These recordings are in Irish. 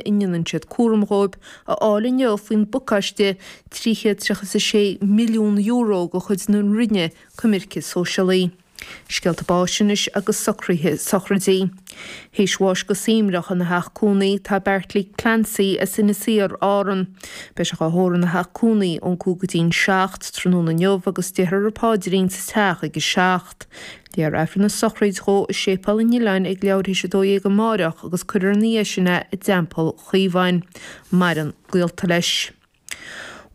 A ndéanann siad cúram dhóibh a fháil inniu faoin bpacáiste €336 milliún de chuid na Roinne Coimirce Sóisialaí. Scéalta báis anois agus socruithe sochraidí. Théis bháis go suaimhneach ina theach cónaí tá Beairtlí Clancy as Inis Oírr, Árann. Beidh sé dhá thórramh ina theach cónaí ón 5 go dtí'n 7 tráthnóna inniu agus déarfar an paidrín sa teach ag a 7. Léifear Aifreann na sochraide dhó i Séipéal an Oileáin ag leathuair théis 12 amáireach agus cuirfear ina dhiaidh sin é i dTeampall Chaomháin. Maireann gaolta leis.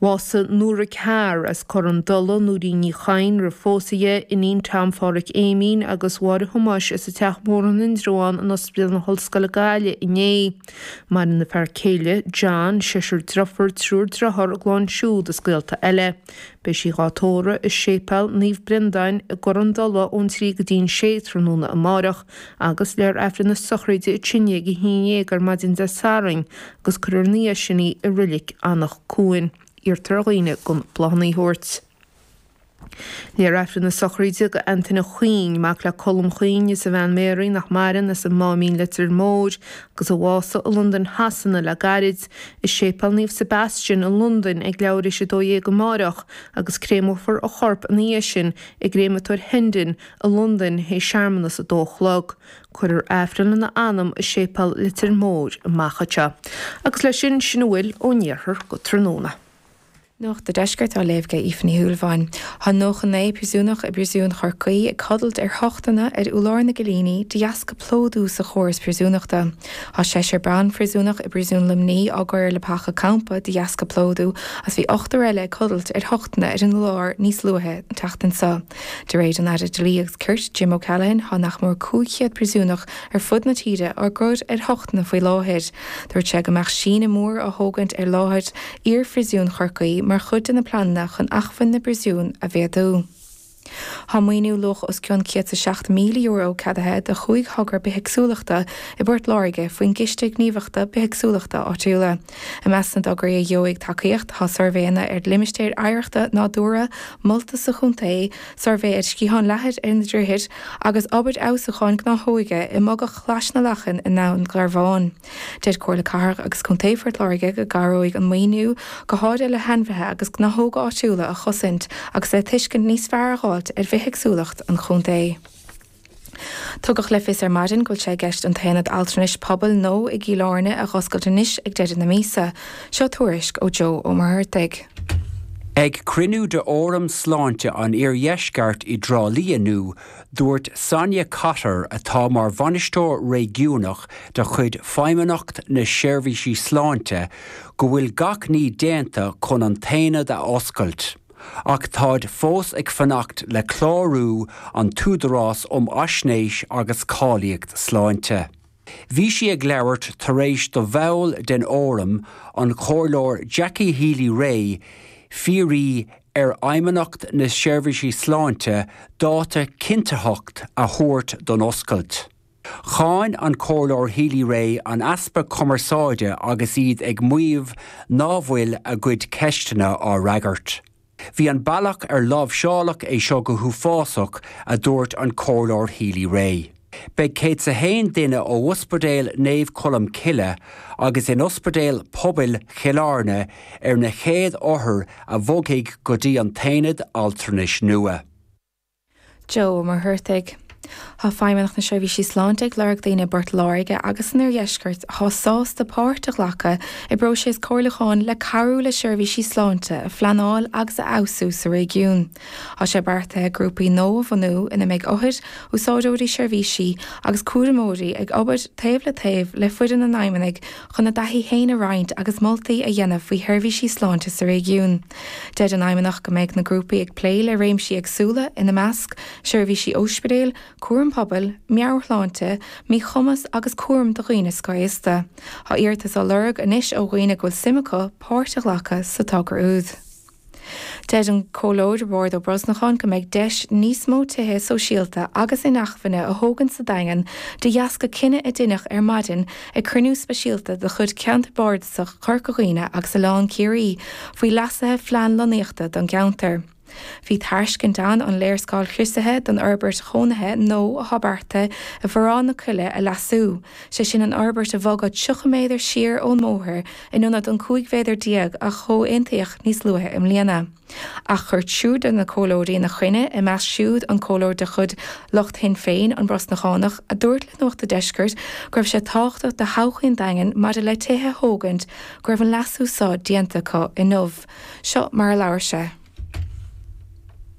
Bhásaigh Nóra Carr as Cor an Dola, Nóirín Ní Chadhain roimh phósadh dhi, iníon Tom Phádhraic Éimín agus Mháire Thomáis as an Teach Mór in Indreabhán in Ospidéal na hOllscoile Gaillimh inné. Maireann a fear céile, John, seisear driofúr, triúr driotháir, a gclann siúd is gaolta eile. Beidh sí dhá tórramh i Séipéal Naomh Brendáin i gCor an Dola ón 3 go dtí'n 6 tráthnóna amáireach agus léifear Aifreann na sochraide ansin ag 11 ar maidin Dé Sathairn agus cuirfear ina dhiaidh sin í i Roilic Anach Cuain. Iarrtar ar dhaoine gan bláthanna a thabhairt. Léifear Aifreann na sochraide do Antaine Chuinn, mac le Colm Chuinn is a bhean Mary nach maireann as an Máimín Leitir Móir agus a bhásaigh i Londain Shasana le gairid. I Séipéal Naomh Sebastian i Londain ag leathuair théis 12 amáireach agus créamófar a chorp ina dhiaidh sin i gCréamatóir Hendon i Londain théis searmanas 2 a chlog. Cuirfear Aifreann lena anam i Séipéal Leitir Móir amach anseo. Agus leis sin, sin a bhfuil ón iarthar go tráthnóna. Nuacht an Deiscirt á léamh ag Aoife Ní Shúilleabháin. Tá 99 príosúnach i bPríosún Chorcaí ag codlait ar thochtanna ar urlár na gcillíní de dheasca plódú sa chóras príosúnachta. Tá seisear ban-phríosúnach i bPríosún Luimní á gcur ar leapacha campa de dheasca plódú agus bhí ochtar eile ag codlait ar thochtanna ar an urlár níos luaithe an tseachtain seo. De réir an Aire Dlí agus Cirt, Jim O'Callaghan, tá nach mór 500 príosúnach ar fud na tíre á gcur ar thochtanna faoi láthair. Dúirt sé go mbeadh síneadh mór á thógaint ar láthair iar-phríosún Chorcaí mar chuid de na pleananna chun acmhainn na bpríosún a mhéadú. Tá maoiniú luach os cionn €107,000 ceadaithe do chúig thogra bithéagsúlachta i bPort Láirge faoin gCiste Gníomhaíochta Bithéagsúlachta Áitiúla. I measc na dtograí a gheobhaidh tacaíocht tá suirbhéanna ar limistéir oidhreachta nádúrtha molta sa chontae, suirbhé ar sciatháin leathair ar na droichid agus obair fheabhsúcháin gnáthóige i mbogach Chlais na Lachan i nDún Garbhán. Deir Comhairle Cathrach agus Contae Phort Láirge go gcabhróidh an maoiniú go háirithe le hainmhithe agus gnáthóga áitiúla a chosaint agus le tuiscint níos fearr a dh'fháilt ar bhithéagsúlacht an chontae. Tugadh le fios ar maidin go bhfuil sé i gceist an t-aonad altranais pobail nua i gCill Airne a dh'oscailt anois ag deireadh na míosa. Seo tuairisc ó Joe Ó Muircheartaigh. Ag cruinniú de Fhóram Sláinte an Iardheisceart i dTrá Lí inniu, Dúirt Sonia Cotter, atá mar bhainisteoir réigiúnach de chuid Feidhmeannacht na Seirbhísí Sláinte, go bhfuil gach ní déanta chun an t-aonad a oscailt, ach táid fós ag fanacht le clárú an tÚdarás um Fhaisnéis agus Cáilíocht Sláinte. Bhí sí ag labhairt tar éis do bhall den Fhóram, an Comhairleoir Jackie Healy-Rae, fiafraí ar Fheidhmeannacht na Seirbhísí Sláinte dáta cinntitheach a thabhairt don oscailt. Cháin an Comhairleoir Healy-Rae an easpa cumarsáide agus iad ag maíomh ná bhfuil a gcuid ceisteanna á fhreagairt. Bhí an bealach ar láimhseáladh é seo go huafásach, a dúirt an Comhairleoir Healy-Rae. Beidh 101 duine ó Ospidéal Naomh Colm Cille agus in Ospidéal Pobail Chill Airne ar na chéad othair a bhogfaidh go dtí an t-aonad altranais nua. Joe Ó Muircheartaigh. Tá Feidhmeannacht na Seirbhísí Sláinte ag lorg daoine i bPort Láirge agus san Oirdheisceart atá sásta páirt a ghlacadh i bpróiseas comhairliúcháin le cabhrú le seirbhísí sláinte a phleanáil agus a fheabhsú sa réigiún. Tá sé beartaithe grúpaí nua a bhunú ina mbeidh othair, úsáideoirí seirbhísí agus cúramóirí ag obair taobh le taobh le foireann an Fheidhmeannaigh chun a dtaithí féin a roinnt agus moltaí a dhéanamh faoi sheirbhísí sláinte sa réigiún. Deir an Fheidhmeannacht go mbeidh na grúpaí ag plé le réimsí éagsúla, ina measc, seirbhísí óispidéil, cúram pobail, meabhairshláinte, míchumas agus cúram do dhaoine scothaosta. Tá iarratais á lorg anois ó dhaoine go bhfuil suim acu páirt a ghlacadh sa togra úd. Deir an Comhairleoir Roibeárd Ó Brosnacháin go mbeidh deis níos mó tithe sóisialta agus inacmhainne a thógaint sa Daingean de dheasca cinneadh a deineadh ar maidin ag cruinniú speisialta de chuid Ceantar Bardasach Chorca Dhuibhne agus Oileán Ciarraí faoi leasuithe phlean lonnaíochta don gceantar. Bhí tairscint ann an léarscáil chriosaithe don fhorbairt chónaithe nua atá beartaithe i bhFearann na Coille a leasú, sé sin an fhorbairt a bhogadh 30 méadar siar ón mbóthar in ionad an 15 mhéadar a comhaontaíodh níos luaithe i mbliana. Ach chuir triúr de na comhairleoirí ina choinne, ina measc siúd an comhairleoir de chuid lucht Shinn Féin, an Brosnachánach, a dúirt le Nuacht an Deiscirt go raibh sé tábhachtach do thodhchaí an Daingin maidir le tithe a thógaint go raibh an leasú so déanta acu inniu. Seo mar a labhair sé.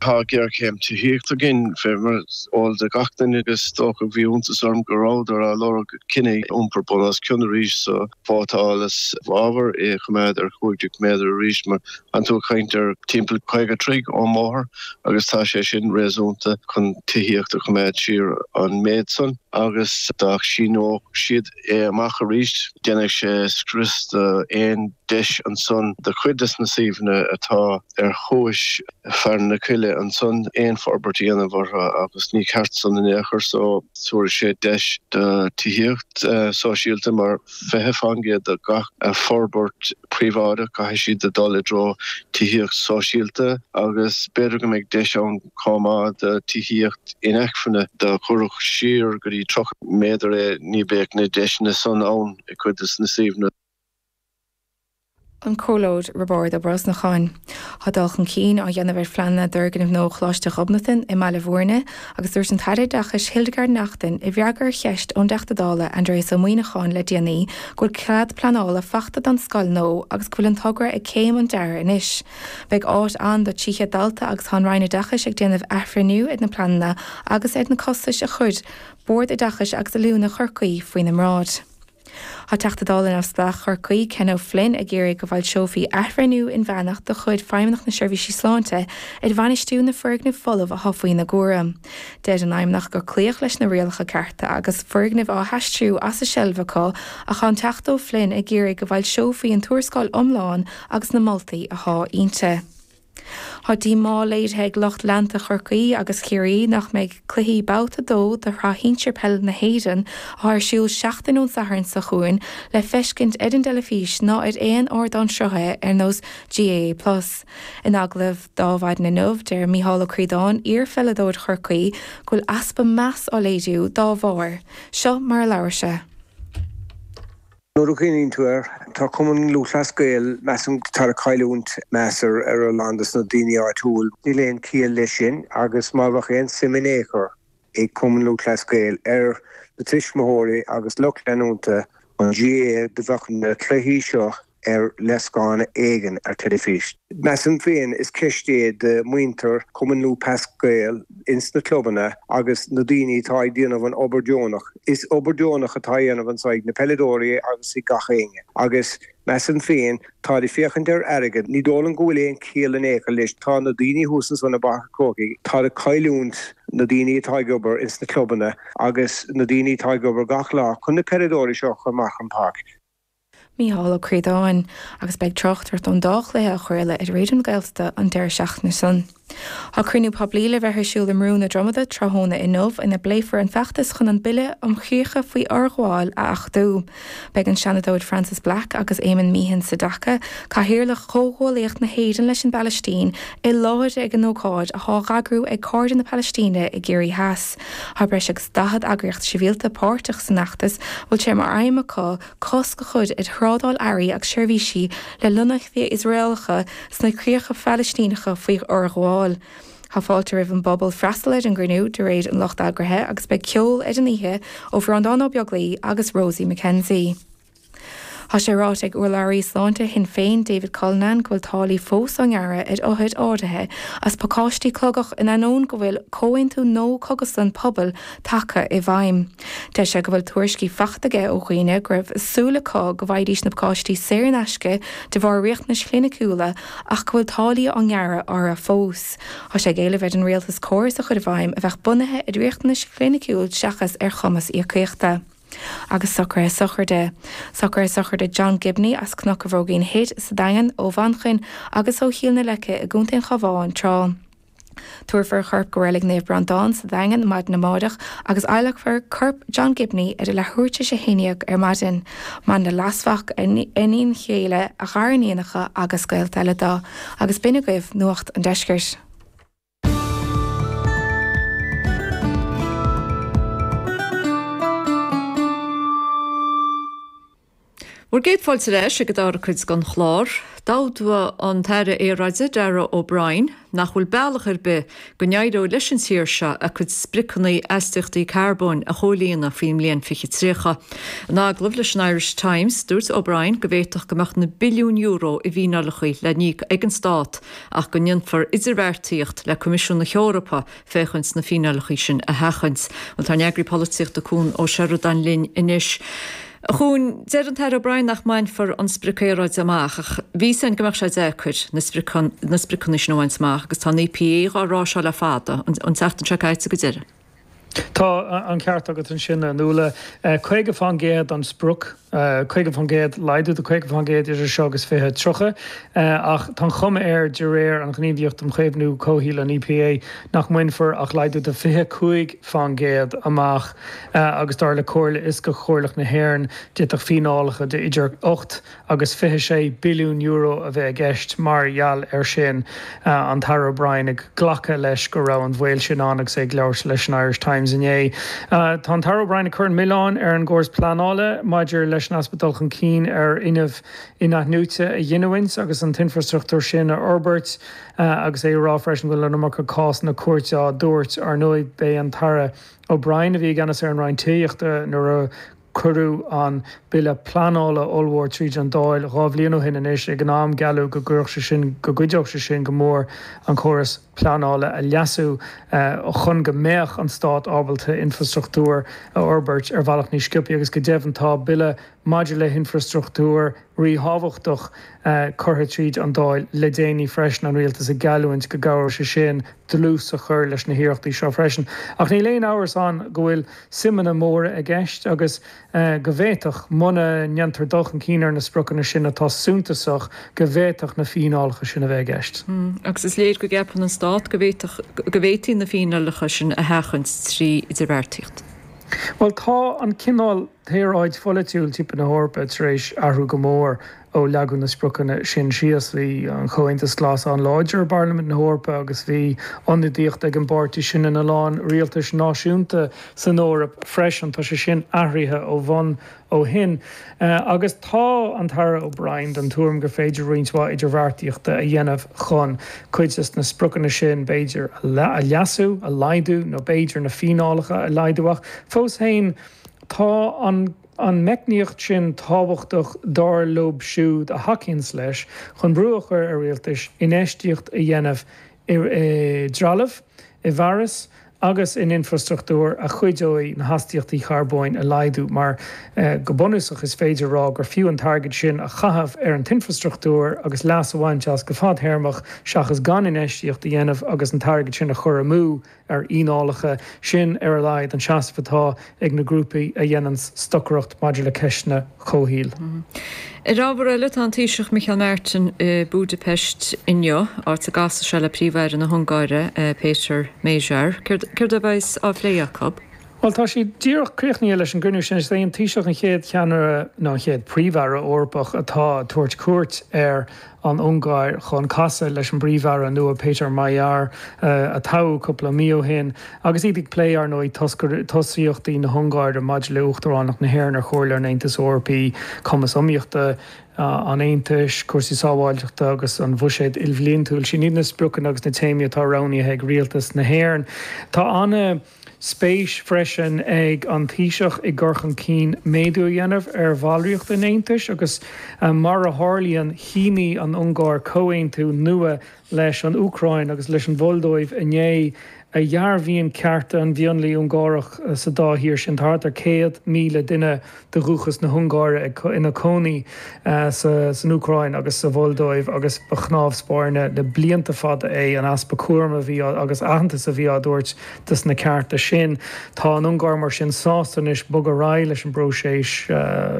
Tá géarchéim tithíochta againn, fé mar is eol do gach duine, agus is dócha bhí iontas orm go rabhadar á lorg cinneadh iompar bun os cionn arís so vótáil i bhfabhar é a choimeád ar 15 méadar arís mar tánn tú ag caint ar timpeall 50 troigh ón mbóthar agus tá sé sin réasúnta chun tithíocht a choimeád siar an méid san agus dá síneodh siad é amach arís déanfaidh sé scrios do aon deis ansan do chuid des na suíomhanna atá ar chuais Fearann na Coille ansan aon forbairt a dhéanamh orthu agus ní ceart san in aon chor so tabharfaidh sé deis do tithíocht sóisialta mar 20% de gach forbairt príobháideach caithfidh siad a dul i dtreo tithíocht sóisialta agus b'fhéidir go mbeidh deis ann chomh maith do tithíocht inacmhainne dá gcuirfeadh siar go dtí 30 méadar é ní bheadh na deiseanna san ann i gcuid des na suíomhanna. An Comhairleoir Roibeárd Ó Brosnacháin. Tá dul chun cinn á dhéanamh ar phleananna d'fhoirgneamh nua Choláiste Ghobnatan i mBaile Bhúirne agus dúirt an tAire Oideachais Hildegarde Naughton i bhfreagra ar cheist ón dTeachta Dála Aindrias Ó Muimhneacháin le déanaí go bhfuil cead pleanála fachta don scoil nua agus go bhfuil an togra ag céim an dearaidh anois. Beidh áit ann do 300 dalta agus tá an Roinn Oideachais ag déanamh athbhreithniú ar na pleananna agus ar na costais a chuir Bord Oideachais agus Oiliúna Chorcaí faoina mbráid. Tá Teachta Dála Neamhspleách Chorcaí, Ken O'Flynn, ag iarraidh go bhfoilseofaí athbhreithniú inmheánach de chuid Feidhmeannacht na Seirbhísí Sláinte ar bhainistiú na foirgneamh folamh atá faoina gcúram. Deir an Fheidhmeannacht gur cloíodh leis na rialacha cearta agus foirgnimh á haistriú as a seilbh acu ach tá an Teachta O'Flynn ag iarraidh go bhfoilseofaí an tuarascáil iomlán agus na moltaí atá inti. Tá díomá léirithe ag lucht leanta Chorcaí agus Chiarraí nach mbeidh cluichí Babhta 2 de Shraith Shinsir Peile na hÉireann, atá ar siúl seachtain ón Satharn seo chugainn, le feiscint ar an dteilifís ná ar aon ardán sruthaithe ar nós GAA Plus. In agallamh d'Adhmhaidin inniu, deir Micheál Ó Críodáin, iar-pheileadóir Chorcaí, go bhfuil easpa meas á léiriú dá bharr. Seo mar a labhair sé. Nuair a chuimhníonn tú air, tá Cumann Lúthchleas Gael, measaim, tá ag cailliúint meas ar a lán dos na daoine áitiúil. Níl aon ciall leis sin agus má bheadh aon suim in aon chor ag Cumann Lúthchleas Gael ar na tuismitheoirí agus lucht leanúnta an GAA do bheadh na cluichí seo ar léarscáil éigin ar teilifís. Measaim féin is ceist é do muintir Cumann Lúthchleas Gael ins na clubanna agus na daoine atá ag déanamh an obair deonach. Is obair deonach atá á dhéanamh anso ag na peileadóirí agus ag gach éinne agus measaim féin táid ag féachaint ar airgead. Ní dóigh liom go bhfuil aon chiall in aon chor leis. Tá na daoine thuas ansan i bPáirc an Chrócaigh, táid ag cailliúint na daoine atá ag obair ins na clubanna agus na daoine atá ag obair gach lá chun na peileadóirí seo a chur amach an páirc. Mícheál Ó Críodáin, agus beidh tráchtaireacht ón dá chluiche á chraoladh ar Raidió na Gaeltachta an deireadh seachtaine san. Tá cruinniú poiblí le bheith ar siúl i mBrú na Dromada tráthnóna inniu ina bpléifear an feachtas chun an Bille um Chríocha faoi Fhorghabháil a achtú. Beidh an Seanadóir Frances Black agus Éamonn Meehan Sedaca, Cathaoirleach Chomhghuaillíocht na hÉireann leis an bPalaistín, i láthair ag an ócáid atá á eagrú ag Cairde na Palaistíne i gCiarraí Theas. Tá breis agus 40 eagraíocht sibhialta páirteach san fheachtas a bhfuil sé mar aidhm acu cosc a chur ar thrádáil earraí agus seirbhísí le lonnaíochtaí Iosraelacha sna críocha Phalaistíneacha faoi fhorghabháil. Tá fáilte roimh an bpobal freastal ar an gcruinniú, de réir an lucht eagraithe, agus beidh ceol ar an oíche ó Bhreandán Ó Beaglaoi agus Rosie McKenzie. Tá sé ráite ag urlabhraí sláinte Shinn Féin, David Cullinane, go bhfuil táillí fós á ngearradh ar othair áirithe as pacáistí clogach in ainneoin go bhfuil comhaontú nua cógaslann pobail tagtha i bhfeidhm. Deir sé go bhfuil tuairiscí faighte aige ó dhaoine go raibh súil acu go bhfaighidís na pacáistí saor in aisce de bharr riachtanais chliniciúla ach go bhfuil táillí á ngearradh orthu fós. Tá sé ag éileamh ar an rialtas córas a chur i bhfeidhm a bheadh bunaithe ar riachtanais chliniciúil seachas ar chumas íocaíochta. Agus socruithe sochraide. Socruithe sochraide John Gibney as Cnoc an Bhróigín Thoir sa Daingean, ó Mhanchain agus ó Chill na Leice i gContae an Chabháin tráth. Tabharfar a chorp go Reilig Naomh Breandán sa Daingean maidin amáireach agus adhlacfar corp John Gibney ar a leathuair tar éis a 11 ar maidin. Chomh maith le leasmhac, a iníon chéile, a ghariníonacha agus gaolta eile dó. Agus b'in agaibh Nuacht an Deiscirt. Bhur gcéad fáilte ar ais ag an dara cuid den chlár. D'admhaigh an tAire Aeráide, Darragh O'Brien, nach bhfuil bealach ar bith go n-éireoidh leis an tír seo a cuid spriocanna astaíochtaí carbóin a chomhlíonadh faoin mbliain 2030. In agallamh leis an Irish Times, dúirt O'Brien go bhféadfadh go mbeadh na billiúin euro i bhfíneálacha le n-íoc ag an stát ach go ndéanfar idirbheartaíocht le Coimisiún na hEorpa féachaint na fíneálacha sin a sheachaint. Bhuel, tá ár n-eagraí polaitíochta Cuan Ó Seireadáin linn anois. A Chuain, deir an tAire O'Brien nach mbainfear an sprioc aeráide amach ach bhí 'fhios a'inn go mbeadh sé deacair na spriocanna na spriocanna sin a bhaint amach agus tá an EPA dhá rá seo le fada, an tseachtain seo caite go deimhin. Tá an ceart agat ansin, a Nuala. 50% an sprioc. 50%, laghdú de 50% idir seo agus 2030, ach tá an chuma air, de réir an Ghníomhaíocht um Chaomhnú Comhshaoil, an EPA, nach mbainfear ach laghdú de 25% amach agus dar le Comhairle Fhioscach Chomhairleach na hÉireann, d'fhéadfadh fíneálacha de idir 8 agus €26 billiún a bheith i gceist mar gheall air sin. An tAire O'Brien ag glacadh leis go raibh an bhaol sin ann agus é ag labhairt leis an Irish Times inné. Tá an tAire O'Brien ag cur an milleáin ar an gcóras pleanála maidir leis an easpa dul chun cinn ar fhuinneamh in-athnuaite a ghiniúint agus an t-infreastruchtúr sin a fhorbairt agus é ag rá freisin go bhfuil an iomarca cásanna cúirte á dtabhairt. Ar ndóigh, b'é an tAire O'Brien a bhí i gceannas ar an Roinn Tithíochta nuair a Cuireadh an bille pleanála ollmhór tríd an Dáil 2 bhliain ó shin anois. Ag an am, gealladh go gcuirfeadh sé sin, go gcuideodh sé sin go mór an córas pleanála a leasú chun go mbeadh an stát ábalta infrastruchtúr a fhorbairt ar bhealach níos sciobthaí agus go deimhin tá bille maidir le hinfrastruchtúr ríthábhachtach curtha tríd an Dáil le déanaí freisin, an rialtas ag geallúint go gcabhróidh sé sin dlús a chur leis na hiarrachtaí seo freisin. Ach níl aon amhras ann go bhfuil suimeanna móra i gceist agus go bhféadfadh, muna ndéantar dul chun cinn ar na spriocanna sin atá suntasach, go bhféadfadh na fíneálacha sin a bheith i gceist. Agus is léir go gceapann an Stát go bhféadfadh, go bhféadfaí na fíneálacha sin a sheachaint trí idirbheartaíocht. Bhuel, tá an cineál aeráid pholaitiúil timpeall na hEorpa tar éis athrú go mór ó leagadh na spriocanna sin síos. Bhí an Comhaontas Glas an-láidir i bParlaimint na hEorpa agus bhí ionadaíocht ag an bpáirtí sin ina lán rialtais náisiúnta san Eoraip freisin. Tá sé sin athraithe ó bhun ó shin agus tá an tAire O'Brien den tuairim gur féidir roinnt mhaith idirbheartaíochta a dhéanamh chun cuid de na spriocanna sin, b'fhéidir, a leasú, a laghdú nó b'fhéidir na fíneálacha a laghdú ach fós féin tá an an meicníocht sin tábhachtach dar leo siúd a thacaíonns leis chun brú a chur ar rialtais infheistíocht a dhéanamh i dtrealamh, i bhfearas agus in infrastruchtúr a chuideoidh na hastaíochtaí carbóin a laghdú mar go bunúsach is féidir a rá gur fiú an t-airgead sin a chaitheamh ar an t-infrastruchtúr agus leas a bhaint as go fadtéarmach seachas gan infheistíocht a dhéanamh agus an t-airgead sin a chur amú ar fhíneálacha. Sin, ar a laghad, an seasamh atá ag na grúpaí a dhéananns stocaireacht maidir le ceisteanna comhshaoil. Ar ábhar eile, tá an Taoiseach Micheál Martin i Budapest inniu, áit a gcasfaidh sé le Príomh-Aire na hUngáire, Péter Magyar. Céard a bheas á phlé acu? Bhuel, tá siad díreach críochnaithe leis an gcruinniú sin. Is é an Taoiseach an chéad cheannaire, nó an chéad Phríomh-Aire Eorpach atá ag tabhairt cuairt ar an Ungáir chun casadh leis an bPríomh-Aire nua Péter Magyar, a toghadh cúpla mí ó shin, agus iad ag plé, ar ndóigh, tosaíochtaí na hUngáire maidir le Uachtaránacht na hÉireann ar Chomhairle an Aontais Eorpaigh, cumas iomaíochta an Aontais, cúrsaí sábháilteachta agus an bhuiséad ilbhliantúil. Sin iad na spriocanna agus na téamaí atá roghnaithe ag Rialtas na hÉireann. Tá ana. Spéis freisin ag an Taoiseach i gcur chun cinn méadú a dhéanamh ar bhallraíocht an Aontais agus mar a tharlaíonn shínigh an Ungáir comhaontú nua leis an Úcráin agus leis an Mholdóiv inné a dhearbhaíonn cearta an mhionlaigh Ungárach sa dá thír sin. Tá thart ar 100,000 duine de dhúchas na hUngáire ina cónaí san Úcráin agus sa Mholdóiv agus ba chnámh spairne le blianta fada é an easpa cúraim a bhí agus aitheantas a bhí á dtabhairt dos na cearta sin. Tá an Ungáir mar sin sásta anois bogadh ar aghaidh leis an bpróiseas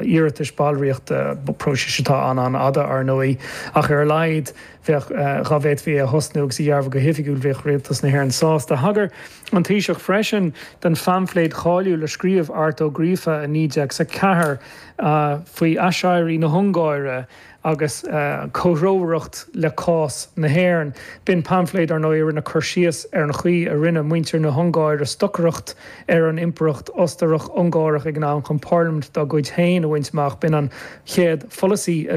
iarratais ballraíochta, próiseas atá an-an-fhada ar ndóigh, ach ar a laghad bheadh, dá bhféadfaí é a thosnú agus a dhearbhu go hoifigiúil, bheadh rialtas na hÉireann sásta. Thagair an Taoiseach freisin don phaimfléad cháiliúil a scríobh Art Ó Gríofa i 1904 faoi aiséirí na hUngáire agus comhthreomhaireacht le cás na hÉireann. B'in paimfléad, ar ndóigh, a rinne cur síos ar an chaoi a rinne muintir na hUngáire stocaireacht ar an Impireacht Ostarach-Ungárach ag an am chun parlaimint dá gcuid féin a bhaint amach. B'in an chéad pholasaí a.